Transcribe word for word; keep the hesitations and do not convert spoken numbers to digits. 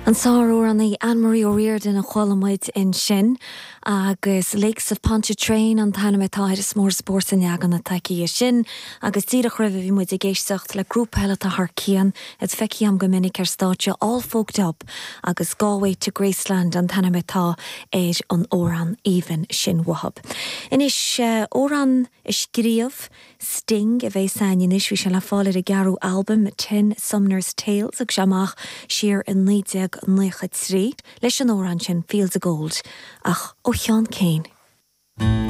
An sáramhránaí Anne-Marie O'Riordan a chuala muid ansin agus Lakes of Pontchartrain an t-ainm atá air is mór spórt an leagan atá aici sin agus díreach roimhe bhí muid ag éisteacht le grúpa eile atá thar cionn is feicim go minic ar stáitse All Folked Up agus Galway to Graceland an t-ainm atá ar an amhrán aoibhinn sin uathu. Anois amhrán a scríobh Sting a bheas againn anois bhí sé le fáil ar a gceathrú albam Ten Sumner's Tales ag amach siar in naoi déag nócha trí leis an amhrán sin Fields of Gold ach ó Sheán Keane.